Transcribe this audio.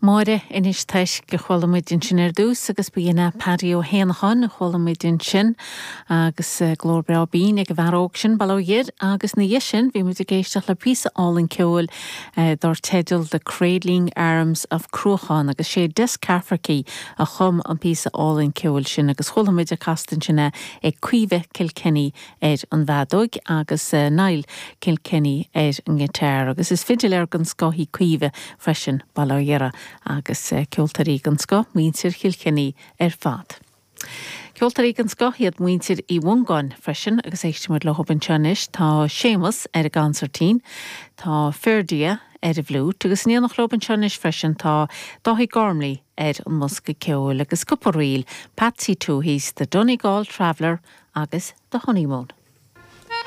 Máire Inis Toisc a chuala muid ansin ar dtús agus ba shin é Paddy Ó hÉanacháin a chuala muid ansin agus glór breá binn ag an bhfear óg sin, bail ó Dhia air, agus ina dhiaidh sin bhí muid ag éisteacht le píosa álainn ceoil dar teideal The Cradling Arms of Cruachan agus sé Des Cafferkey a chum an píosa álainn ceoil sin agus chuala muid ag casadh ansin é ag Caoimhe Kilkenny ar an bhfeadóig agus Niall Kilkenny ar an ngiotár agus is fidiléir den scoth í Caoimhe freisin, bail ó Dhia uirthi, agus ceoltóirí den scoth muintir Chilkenny ar fad. Ceoltóirí den scoth iad muintir Uí Mhongáin freisin agus éistfidh muid leo anseo anois. Tá Séamus ar an gconsairtín, tá Ferdia ar an bhfliúit agus in éineacht leo anseo anois freisin tá Dáithí Gormley ar an mbosca ceoil agus cúpla ríl, Patsy Touhey's The Donegal Traveller agus The Honeymoon.